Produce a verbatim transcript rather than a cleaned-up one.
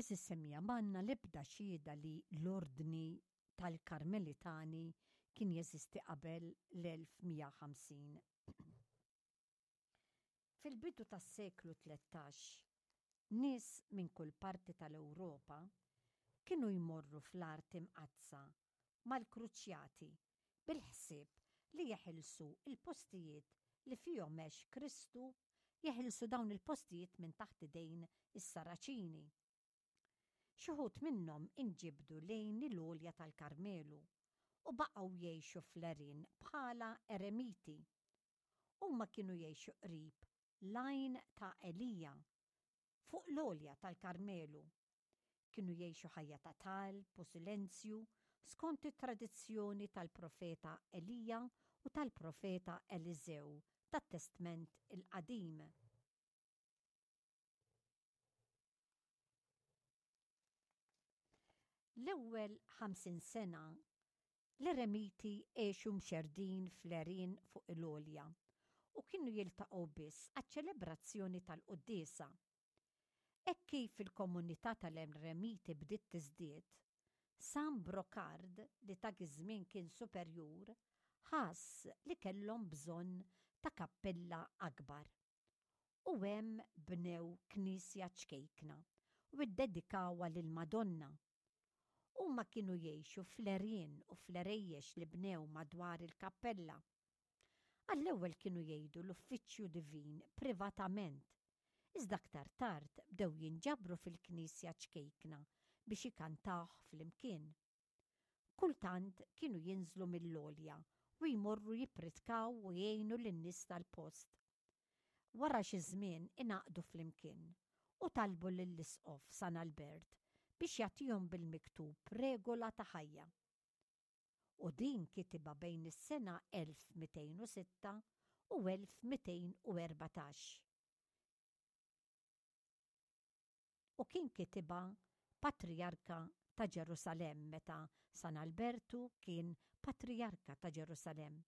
Għeżież semmiegħa, m'għandna l-ebda xhieda li l-Ordni tal-Karmelitani kien jeżisti qabel l-elf mija u ħamsin. Fil-bidu tas-seklu tlettax, nies minn kull parti tal-Ewropa kienu jmorru fl-Art Imqaddsa mal-Kruċjati bil-ħsieb li jeħilsu l-postijiet li fihom għex Kristu, jeħilsu dawn il-postijiet minn taħt idejn is-Saraċini. Xi wħud minnhom inġibdu lejn il-għolja tal-Karmelu u baqgħu jgħixu fl-għerien bħala eremiti. Huma kienu jgħixu qrib l-għajn ta' Elija, fuq l-għolja tal-Karmelu. Kienu jgħixu ħajja ta' talb u silenzju skont it-tradizzjoni tal-profeta Elija u tal-profeta Eliżew tat-Testment il-Qadim. L-ewwel ħamsin sena l-eremiti għexu mxerrdin fl-għerien fuq il-għolja u kienu jiltaqgħu biss għaċ-ċelebrazzjoni tal-quddiesa. Hekk kif il-komunità tal-eremiti bdiet tiżdied, San Brocard, li dak iż-żmien kien superjur, ħass li kellhom bżonn ta' kappella akbar. U hemm bnew knisja ċkejkna u ddedikawha lill-Madonna. Huma kienu jgħixu fl-għerien u fl-għerejjex li bnew madwar il-kappella. Għall-ewwel kienu jgħidu l-uffiċċju divin privatament, iżda aktar tard bdew jinġabru fil-knisja ċkejkna biex ikantawh flimkien. Kultant kienu jinżlu mill-għolja u jmorru jippritkaw u jgħinu lin-nies tal-post. Wara xi żmien ingħaqdu flimkien u talbu lill-Isqof San Albert biex jagħtihom bil-miktub regola ta' ħajja. U din kitibha bejn is-sena elf mitejn u sitta u elf mitejn u erbatax. U kien kitibha Patrijarka ta' Ġerusalemm meta San Albertu kien Patrijarka ta' Ġerusalemm.